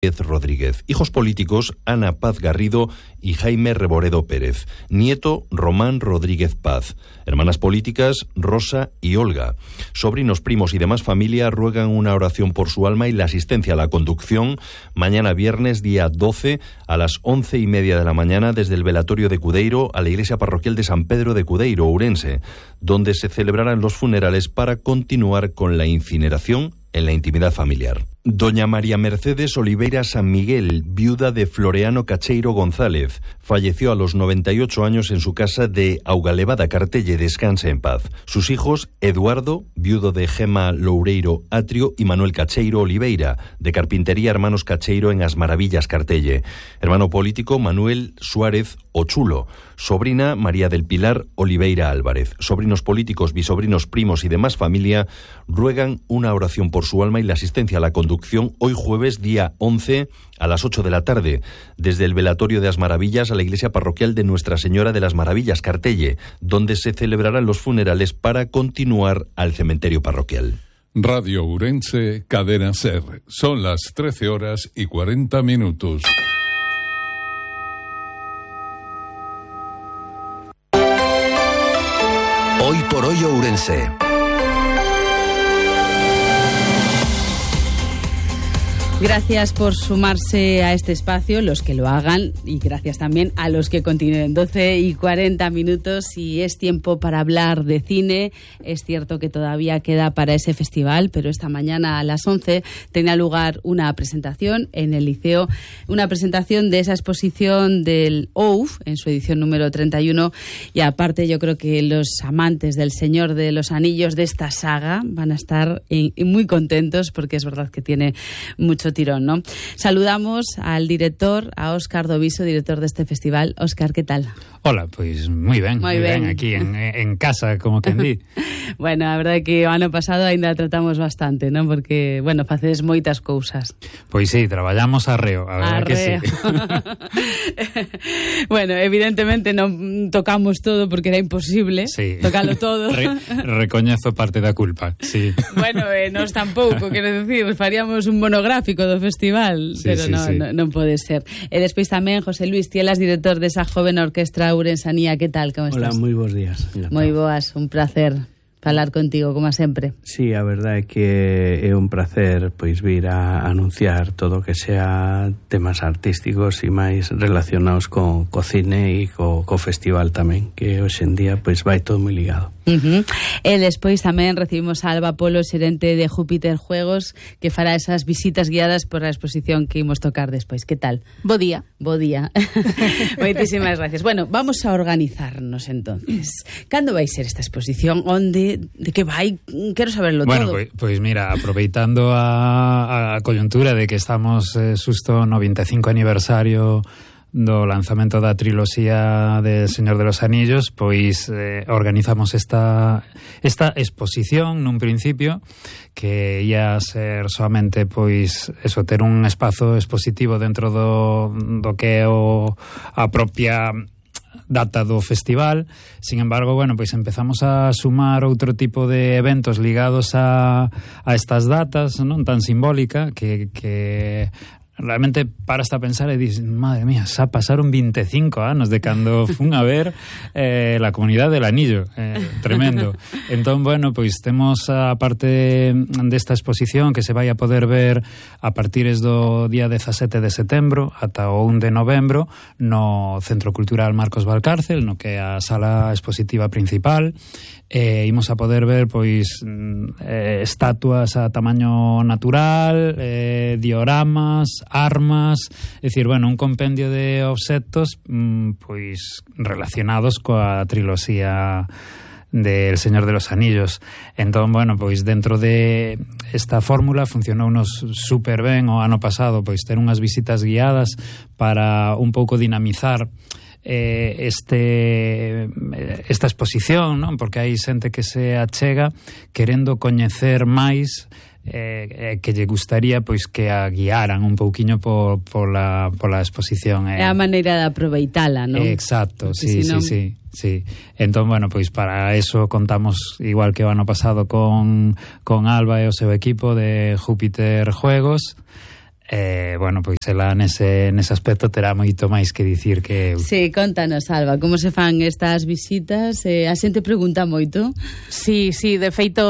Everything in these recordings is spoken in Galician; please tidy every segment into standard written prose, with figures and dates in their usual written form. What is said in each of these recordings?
Rodríguez. Hijos políticos: Ana Paz Garrido y Jaime Reboredo Pérez. Nieto: Román Rodríguez Paz. Hermanas políticas: Rosa y Olga. Sobrinos, primos y demás familia ruegan una oración por su alma y la asistencia a la conducción mañana viernes día 12 a las 11:30 de la mañana desde el velatorio de Cudeiro a la iglesia parroquial de San Pedro de Cudeiro, Ourense, donde se celebrarán los funerales para continuar con la incineración en la intimidad familiar. Doña María Mercedes Oliveira San Miguel, viuda de Floreano Cacheiro González, falleció a los 98 años en su casa de Augalevada, Cartelle. Descanse en paz. Sus hijos: Eduardo, viudo de Gema Loureiro Atrio, y Manuel Cacheiro Oliveira, de Carpintería Hermanos Cacheiro en As Maravillas, Cartelle. Hermano político: Manuel Suárez Ochulo. Sobrina: María del Pilar Oliveira Álvarez. Sobrinos políticos, bisobrinos, primos y demás familia ruegan una oración por su alma y la asistencia a la conducción hoy jueves día 11 a las 8 de la tarde desde el velatorio de As Maravillas a la iglesia parroquial de Nuestra Señora de las Maravillas, Cartelle, donde se celebrarán los funerales para continuar al cementerio parroquial. Radio Ourense, Cadena SER. Son las 13:40. Hoy por hoy Ourense. Gracias por sumarse a este espacio, los que lo hagan, y gracias también a los que continúen. 12:40 y es tiempo para hablar de cine. Es cierto que todavía queda para ese festival, pero esta mañana a las 11 tenía lugar una presentación en el Liceo, una presentación de esa exposición del OUF en su edición número 31, y aparte yo creo que los amantes del Señor de los Anillos, de esta saga, van a estar muy contentos, porque es verdad que tiene mucho tirón, ¿no? Saludamos al director, a Óscar Doviso, director de este festival. Óscar, ¿qué tal? Hola, pois moi ben, aquí en casa, como quen di. Bueno, a verdade é que o ano pasado ainda tratamos bastante, non? Porque, bueno, facedes moitas cousas. Pois sí, traballamos arreo, a verdade que sí. Bueno, evidentemente non tocamos todo porque era imposible tocalo todo. Recoñezo parte da culpa, sí. Bueno, nos tampouco, quero dicir, faríamos un monográfico do festival, pero non pode ser. E despois tamén José Luis Tielas, director desa joven orquestra Ourensanía. ¿Qué tal? ¿Cómo estás? Hola, moi bons días. Moi boas, un placer falar contigo, como sempre. Sí, a verdade é que é un placer pois vir a anunciar todo o que sea temas artísticos e máis relacionados co cine e co festival tamén, que hoxe en día pois vai todo moi ligado. E despois tamén recibimos a Alba Polo, xerente de Júpiter Juegos, que fará esas visitas guiadas por a exposición que imos tocar despois. Que tal? Bo día. Bo día. Moitísimas gracias. Bueno, vamos a organizarnos entonces. Cando vai ser esta exposición? Onde? De que vai? Quero saberlo todo. Bueno, pois mira, aproveitando a coyuntura de que estamos xusto no 25 aniversario do lanzamento da triloxía de Señor de los Anillos, pois organizamos esta exposición nun principio que ia ser solamente pois eso, ter un espazo expositivo dentro do que é a propia data do festival. Sin embargo, bueno, pois empezamos a sumar outro tipo de eventos ligados a estas datas, non tan simbólica, que realmente paras a pensar e dices, madre mía, xa pasaron 25 anos de cando fun a ver la Comunidad del Anillo, tremendo. Entón, bueno, pois temos a parte desta exposición que se vai a poder ver a partir do día 17 de setembro ata o 1 de novembro no Centro Cultural Marcos Valcárcel, no que é a sala expositiva principal. Imos a poder ver pois estatuas a tamaño natural, dioramas, armas, é dicir, bueno, un compendio de obxectos pois relacionados coa triloxía del Señor de los Anillos. Entón, bueno, pois dentro de esta fórmula funcionounos super ben o ano pasado, pois ter unhas visitas guiadas para un pouco dinamizar esta exposición, non? Porque hai xente que se achega querendo coñecer máis, que lle gustaría pois que a guiaran un pouquiño pola exposición. É a maneira de aproveitala, non? Exacto, sí. Entón, bueno, pois para eso contamos, igual que o ano pasado, con Alba e o seu equipo de Júpiter Juegos. bueno, pois ela nese aspecto terá moito máis que dicir que eu. Sí, contanos, Alba, como se fan estas visitas? A xente pregunta moito. Sí, de feito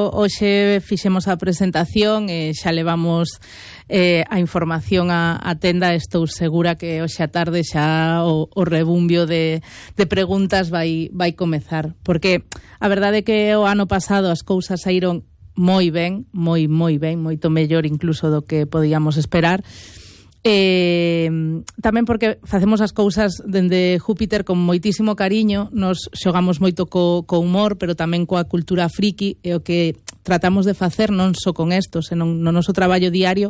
hoxe fixemos a presentación e xa levamos a información a tenda. Estou segura que hoxe a tarde xa o rebumbio de preguntas vai comezar, porque a verdade é que o ano pasado as cousas saíron moi ben, moi ben, moito mellor incluso do que podíamos esperar. Tamén porque facemos as cousas dende Júpiter con moitísimo cariño, nos xogamos moito co humor, pero tamén coa cultura friki, e o que tratamos de facer non só con isto, senón no noso traballo diario,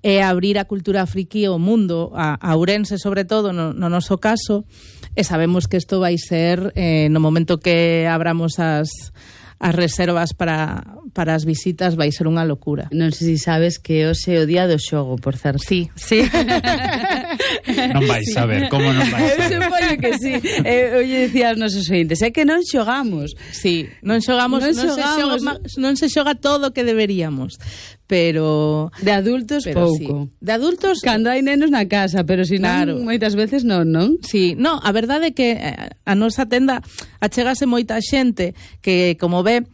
é abrir a cultura friki ao mundo, a Ourense sobre todo, no noso caso, e sabemos que isto vai ser, no momento que abramos as reservas para as visitas, vai ser unha locura. Non sei se sabes que hoxe é o día do xogo, por certo. Sí. Non vais saber, como non vais saber? Eu supoño que sí. Oye, decía aos nosos ointes, é que non xogamos. Sí, non xogamos. Non se xoga todo o que deberíamos, pero de adultos pouco. Sí. De adultos cando hai nenos na casa, pero si non, moitas veces non? Sí, no, a verdade é que a nosa tenda achégase moita xente que, como ve,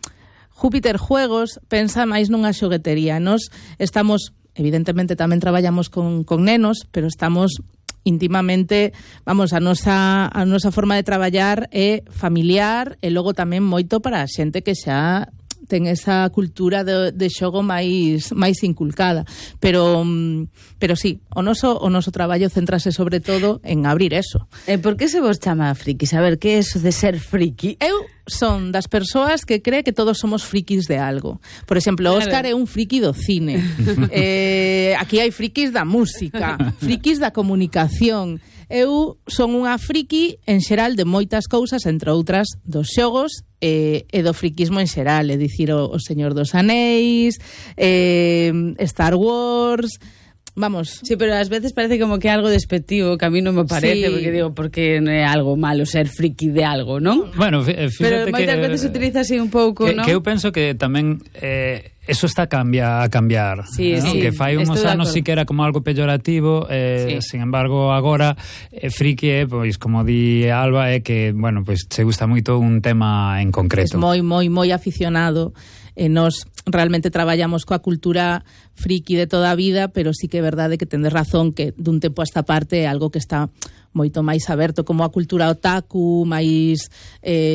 Júpiter Juegos pensa máis nunha xoguetería. Nos estamos, evidentemente tamén traballamos con nenos, pero estamos íntimamente, vamos, a nosa forma de traballar é familiar e logo tamén moito para a xente que xa ten esa cultura de xogo máis inculcada, pero sí, o noso traballo céntrase sobre todo en abrir eso. Por que se vos chama frikis? A ver, que é eso de ser friki? Eu son das persoas que cree que todos somos frikis de algo. Por exemplo, Óscar é un friki do cine. Aquí hai frikis da música, frikis da comunicación. Eu son unha friki en xeral de moitas cousas, entre outras dos xogos e do friquismo en xeral, é dicir, o Señor dos Anéis, Star Wars. Vamos. Sí, pero ás veces parece como que é algo despectivo, que a mí non me parece, porque digo, porque non é algo malo ser friki de algo, non? Bueno, fíjate pero moitas veces se utiliza así un pouco, non? Que eu penso que tamén eso está a cambiar. Sí, ¿no? sí, que fai uns anos sí que era como algo peyorativo, sí. Sin embargo, agora friki é, pois, como di Alba, é que, bueno, pois se gusta moito un tema en concreto. É moi aficionado. Nos realmente traballamos coa cultura friki de toda a vida, pero sí que é verdade que tendes razón que dun tempo a esta parte é algo que está moito máis aberto, como a cultura otaku, máis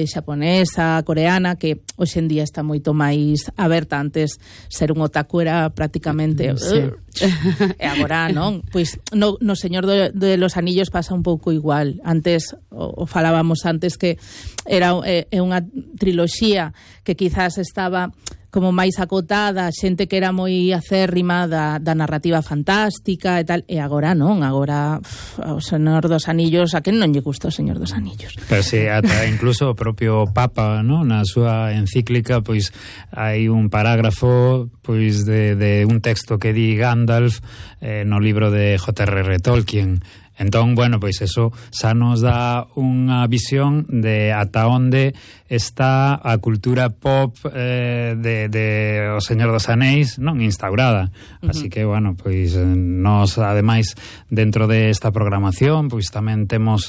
xaponesa, coreana, que hoxe en día está moito máis aberta. Antes ser un otaku era prácticamente e agora non. Pois no Señor de los Anillos pasa un pouco igual. Antes, o falábamos antes, que era unha triloxía que quizás estaba como máis acotada, xente que era moi acérrima da narrativa fantástica e tal, e agora non, agora o Señor dos Anillos, a quen non lle gusta o Señor dos Anillos? Pero si, ata incluso o propio Papa, ¿no? Na súa encíclica, pois hai un parágrafo pois de un texto que di Gandalf no libro de J.R.R. Tolkien. Entón, bueno, pois eso xa nos dá unha visión de ata onde está a cultura pop de O Señor dos Anéis, non, instaurada. Así que, bueno, pois nos, ademais, dentro desta programación, pois tamén temos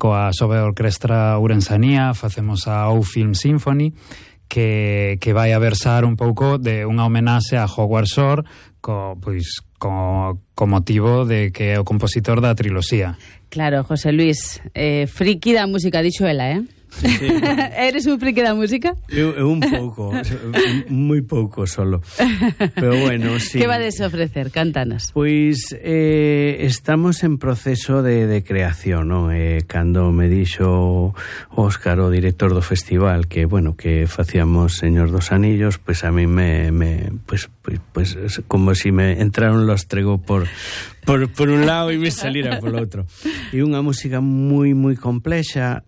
coa Sobe Orquestra Ourensanía, facemos a O Film Symphony, que vai a versar un pouco de unha homenaxe a Howard Shore, co motivo de que é o compositor da triloxía. Claro, José Luis, friki da música, dixo ela, Sí. Eres un friki da música? Eu un pouco, moi pouco solo. Pero bueno, sí. Que vades ofrecer? Cántanos. Pois estamos en proceso de creación, non? Cando me dixo Óscar, o director do festival, que, bueno, que facíamos Señor dos Anillos, pois a mí pues como si me entraron los trego por un lado e me salira por outro. E unha música moi moi complexa,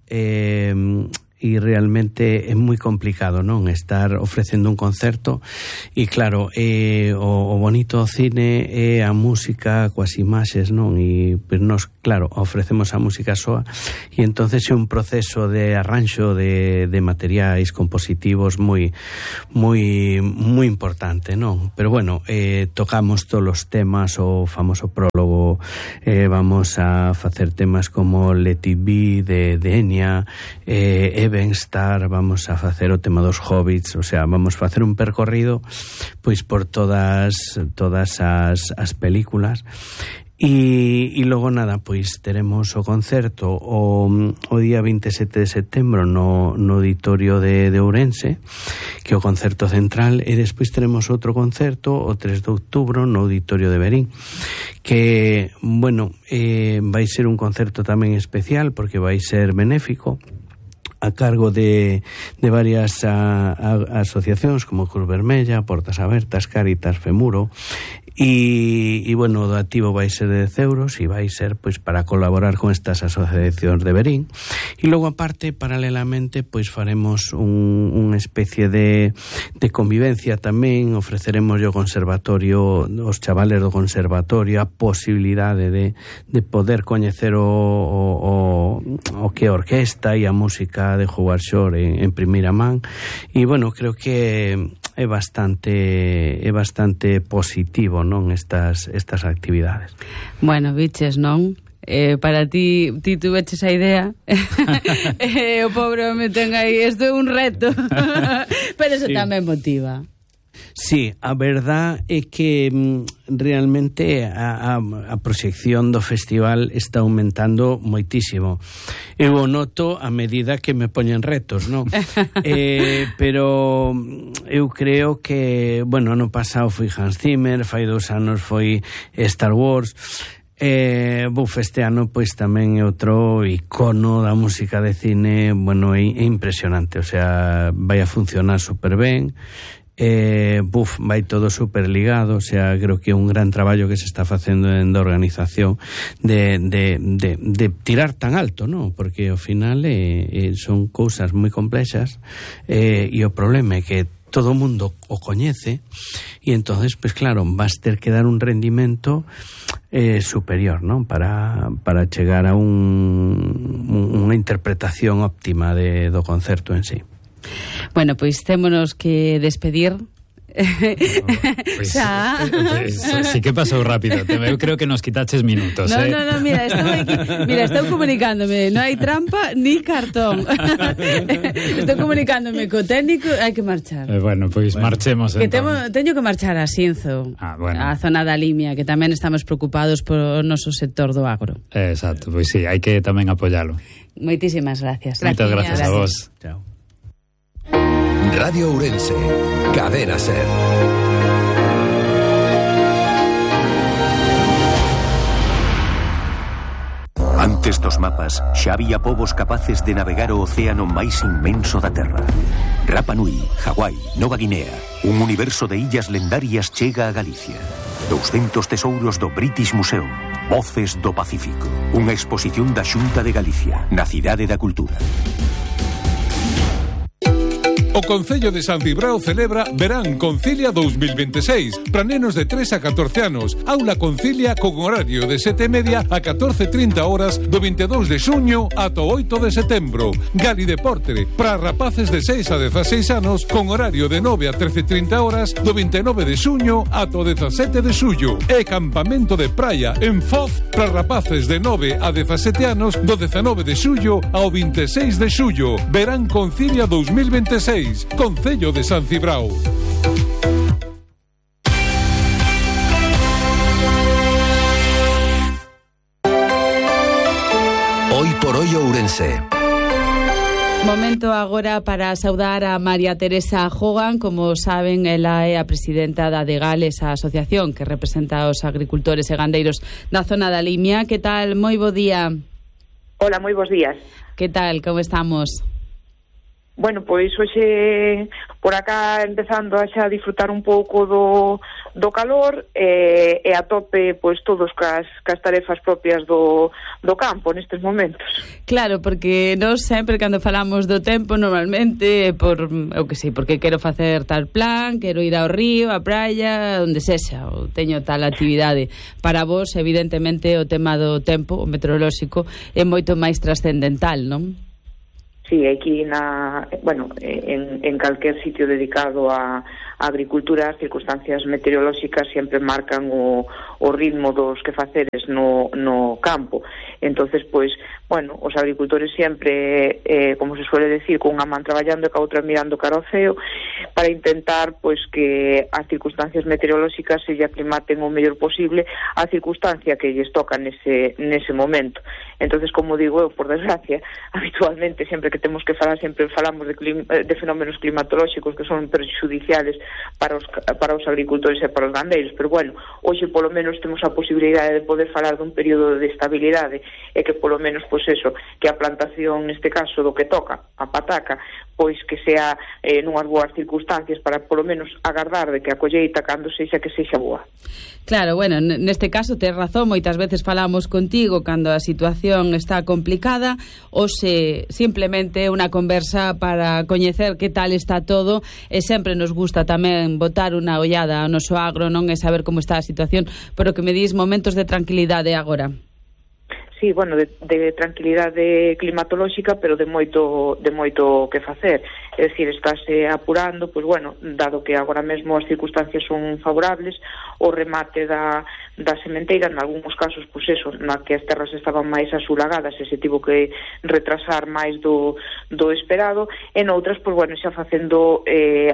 e realmente é moi complicado, non, estar ofrecendo un concerto, e claro, o bonito do cine é a música coas imaxes, non, e pues nos, claro, ofrecemos a música soa, e entonces é un proceso de arranxo de materiais compositivos moi importante, non? Pero bueno, tocamos todos os temas, o famoso prólogo, vamos a facer temas como Let It Be de Enya, Evenstar, vamos a facer o tema dos Hobbits, o sea, vamos a facer un percorrido pois por todas as películas. E logo nada, pois teremos o concerto o día 27 de setembro no auditorio de Ourense, que é o concerto central, e despois teremos outro concerto o 3 de outubro no auditorio de Verín, que, bueno, vai ser un concerto tamén especial porque vai ser benéfico, a cargo de varias asociacións como Cruz Vermella, Portas Abertas, Cáritas, Femuro, e bueno, o doativo vai ser de 10 euros e vai ser pois para colaborar con estas asociacións de Verín. E logo aparte, paralelamente, pois faremos unha especie de convivencia tamén, ofreceremos o conservatorio, os chavales do conservatorio, a posibilidade de poder coñecer o que é a orquesta e a música de Howard Shore en primeira man, e bueno, creo que é bastante positivo, non, estas actividades. Bueno, biches, non? Para ti tuveches a idea. O pobre me ten aí, isto é un reto. Pero eso sí, tamén motiva. Sí, a verdad é que realmente a proxección do festival está aumentando moitísimo. Eu o noto a medida que me poñen retos, non? Pero eu creo que, bueno, ano pasado foi Hans Zimmer, fai 2 anos foi Star Wars. Este ano pois tamén é outro icono da música de cine, bueno, é impresionante, o sea, vai a funcionar super ben. Vai todo super ligado, o sea, creo que é un gran traballo que se está facendo en da organización de tirar tan alto, non? Porque ao final son cousas moi complexas, e o problema é que todo o mundo o coñece, e entonces, pues claro, vas ter que dar un rendimento superior, non? Para chegar a unha interpretación óptima do concerto en sí. Bueno, pois témonos que despedir. Pues, sí que pasou rápido. Eu creo que nos quitaches minutos. No, mira, estou comunicándome. Non hai trampa ni cartón. Estou comunicándome co técnico, hai que marchar. Bueno, pois marchemos. Que teño que marchar a Xinzo, a zona da Limia, que tamén estamos preocupados por o noso sector do agro. Exacto, pois sí, hai que tamén apoialo. Moitísimas gracias. Moitas gracias a vos. Chao. Radio Ourense, Cadena Ser. Antes dos mapas, xa había povos capaces de navegar o océano máis inmenso da Terra. Rapa Nui, Hawái, Nova Guinea, un universo de illas lendarias chega a Galicia. 200 tesouros do British Museum, Voces do Pacífico, unha exposición da Xunta de Galicia, na Cidade da Cultura. O Concello de San Cibrao celebra Verán Concilia 2026 para nenos de 3 a 14 anos. Aula Concilia con horario de 7:30 a 14:30 horas do 22 de xuño ata 8 de setembro. Gali Deporte para rapaces de 6 a 16 anos con horario de 9 a 13:30 horas do 29 de xuño ata o 17 de xullo. E campamento de praia en Foz para rapaces de 9 a 17 anos do 19 de xullo ao 26 de xullo. Verán Concilia 2026. Concello de San Cibrao. Hoy por hoy Ourense. Momento agora para saudar a María Teresa Hogan. Como saben, ela é a presidenta da Degales, a asociación que representa aos agricultores e gandeiros da zona da Limia. Que tal? Moi bo día. Hola, moi bons días. Que tal? Como estamos? Bueno, pois hoxe por acá empezando a xa disfrutar un pouco do calor e a tope pois todos cas tarefas propias do campo nestes momentos. Claro, porque nós sempre cando falamos do tempo normalmente eu que sei, porque quero facer tal plan, quero ir ao río, á praia, onde sexa, ou teño tal actividade. Para vos, evidentemente, o tema do tempo, o meteorolóxico, é moito máis trascendental, non? Sí, aquí en calquer sitio dedicado a agricultura, as circunstancias meteorolóxicas sempre marcan o ritmo dos quefaceres no campo. Entonces, pois, bueno, os agricultores sempre, como se suele decir, cunha man traballando e ca outra mirando cara ao ceo, para intentar, pois, que as circunstancias meteorolóxicas se lle aclimaten o mellor posible a circunstancia que lles toca nese momento. Entonces, como digo eu, por desgracia, habitualmente, sempre que temos que falar, sempre falamos de fenómenos climatolóxicos que son perxudiciales para os agricultores e para os gandeiros, pero bueno, hoxe polo menos temos a posibilidade de poder falar dun período de estabilidade e que polo menos, pois eso, que a plantación neste caso do que toca, a pataca, pois que sea nunhas boas circunstancias para polo menos agardar de que a colleita cando sexa que sexa boa. Claro, bueno, neste caso tes razón, moitas veces falamos contigo cando a situación está complicada ou se simplemente unha conversa para coñecer que tal está todo e sempre nos gusta tamén botar unha ollada ao noso agro, non, e saber como está a situación, pero que me dis momentos de tranquilidade agora. Sí, bueno, de tranquilidade climatolóxica, pero de moito que facer. É dicir, estáse apurando, pois bueno, dado que agora mesmo as circunstancias son favorables, o remate da sementeira, en algúns casos, pois eso, na que as terras estaban máis asulagadas e se tivo que retrasar máis do esperado, e noutras, pois bueno, xa facendo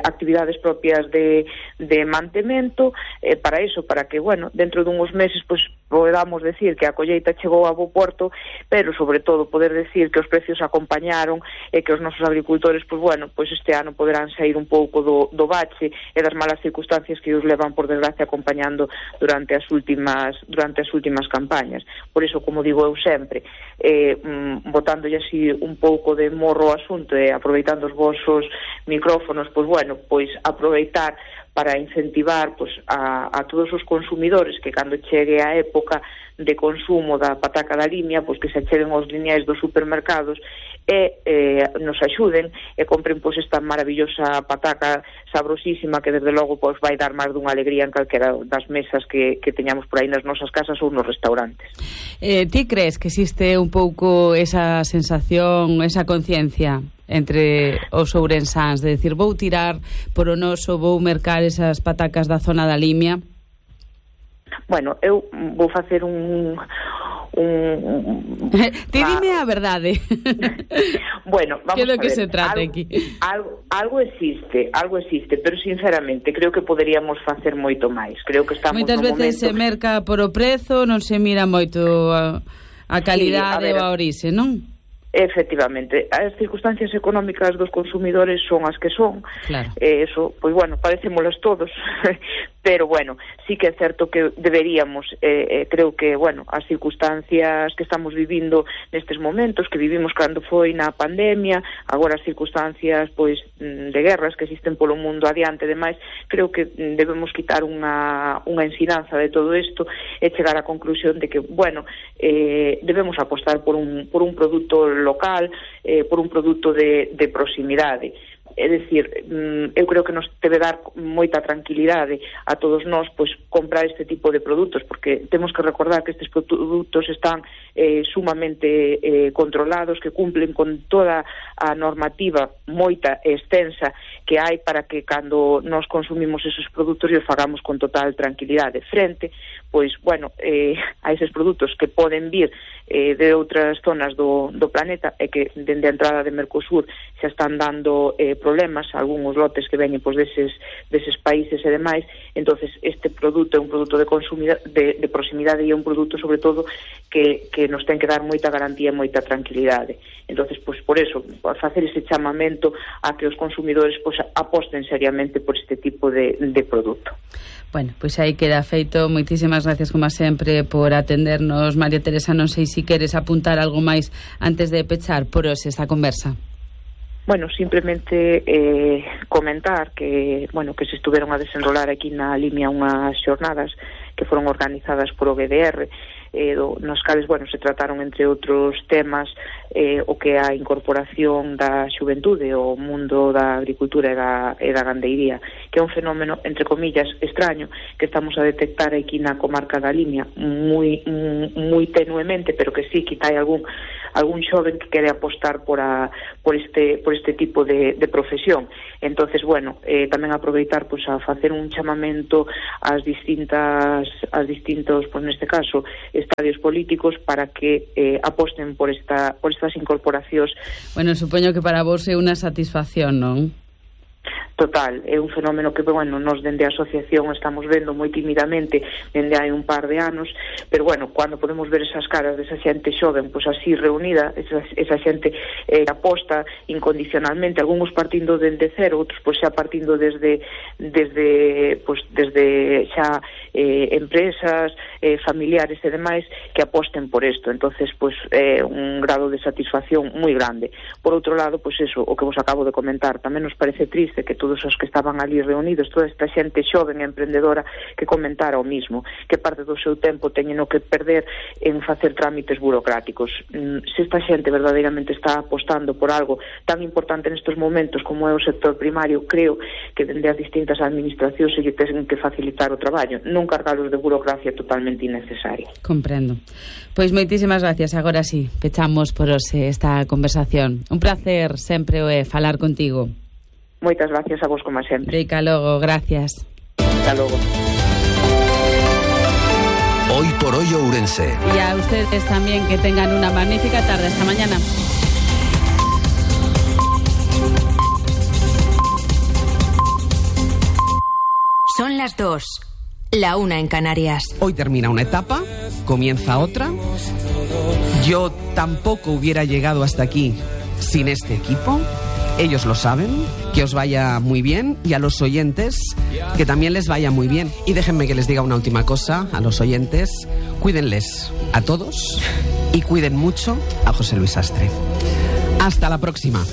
actividades propias de mantemento, para iso, para que, bueno, dentro dunhos meses, pois podamos decir que a colleita chegou a bo porto, pero sobre todo poder decir que os precios acompañaron e que os nosos agricultores, pois bueno, pois este ano poderán sair un pouco do bache e das malas circunstancias que os levan, por desgracia, acompañando durante as últimas campañas. Por iso, como digo eu sempre, botándolle así un pouco de morro ao asunto e aproveitando os vosos micrófonos, pois bueno, pois aproveitar para incentivar pois, a todos os consumidores que cando chegue a época de consumo da pataca da limia, pois que se acheguen aos lineais dos supermercados e nos axuden e compren pois esta maravillosa pataca sabrosísima que desde logo pois vai dar máis dunha alegría en calquera das mesas que teñamos por aí nas nosas casas ou nos restaurantes. Ti crees que existe un pouco esa sensación, esa conciencia entre os ourensáns de decir, vou tirar por o noso, vou mercar esas patacas da zona da Limia? Bueno, eu vou facer un Ti dime a verdade. Bueno, vamos a ver. Que se trata aquí? Algo existe, pero sinceramente creo que poderíamos facer moito máis. Creo que estamos moitas veces se merca por o prezo, non se mira moito a calidade ou a orixe, non? Efectivamente, as circunstancias económicas dos consumidores son as que son. Claro. Eso, pois bueno, parecémolas todos, pero bueno, sí que é certo que deberíamos, creo que, bueno, as circunstancias que estamos vivindo nestes momentos, que vivimos cando foi na pandemia, agora as circunstancias, pois, de guerras que existen polo mundo adiante e demais, creo que debemos quitar unha ensinanza de todo isto e chegar á conclusión de que, bueno, debemos apostar por un produto local, por un produto de proximidade. É dicir, eu creo que nos debe dar moita tranquilidade a todos nós pois comprar este tipo de produtos, porque temos que recordar que estes produtos están sumamente controlados, que cumplen con toda a normativa moita e extensa que hai para que cando nos consumimos esos produtos os fagamos con total tranquilidade frente, pois, bueno, a eses produtos que poden vir de outras zonas do planeta e que dende a entrada de Mercosur xa están dando problemas, algúns lotes que veñen pois deses países e demais. Entonces este produto é un produto de proximidade e é un produto sobre todo que nos ten que dar moita garantía e moita tranquilidade. Entonces, pois por eso, facer ese chamamento a que os consumidores pois aposten seriamente por este tipo de produto. Bueno, pois aí queda feito. Moitísimas gracias, como sempre, por atendernos, María Teresa. Non sei se queres apuntar algo máis antes de pechar por hoxe esta conversa. Bueno, simplemente comentar que, bueno, que se estuveron a desenrolar aquí na Limia unhas xornadas que foron organizadas por o GDR, nos cales, bueno, se trataron entre outros temas o que a incorporación da xuventude ao mundo da agricultura e da gandeiría, que é un fenómeno, entre comillas, extraño, que estamos a detectar aquí na comarca da Limia moi tenuemente, pero que sí, que hai algún xoven que quere apostar por este tipo de profesión. Entonces, bueno, tamén aproveitar pues a facer un chamamento ás distintos, pues neste caso, estadios políticos para que aposten por estas incorporacións. Bueno, supoño que para vos é unha satisfacción, non? Total, é un fenómeno que, bueno, nos dende a asociación estamos vendo moi tímidamente dende hai un par de anos, pero bueno, cando podemos ver esas caras desa xente xoven, pois así reunida, esa xente aposta incondicionalmente, algúns partindo dende cero, outros pois xa partindo desde xa empresas, familiares e demais que aposten por isto. Entonces, pois un grado de satisfacción moi grande. Por outro lado, pois eso, o que vos acabo de comentar, tamén nos parece triste que todos os que estaban ali reunidos, toda esta xente xoven e emprendedora, que comentara o mismo, que parte do seu tempo teñen que perder en facer trámites burocráticos. Se esta xente verdadeiramente está apostando por algo tan importante nestes momentos como é o sector primario, creo que dende as distintas administracións se lle ten que facilitar o traballo, non cargalos de burocracia totalmente innecesaria. Comprendo. Pois moitísimas gracias. Agora sí, pechamos por hoxe esta conversación. Un placer sempre falar contigo. Moitas gracias a vos, como sempre. Rica, logo, gracias. Hasta logo. Hoy por hoy Ourense. Y a ustedes también, que tengan una magnífica tarde. Hasta mañana. Son las 2, la 1 en Canarias. Hoy termina una etapa, comienza otra. Yo tampoco hubiera llegado hasta aquí sin este equipo. Ellos lo saben. Que os vaya muy bien, y a los oyentes que también les vaya muy bien. Y déjenme que les diga una última cosa a los oyentes: cuídenles a todos y cuiden mucho a José Luis Astre. Hasta la próxima.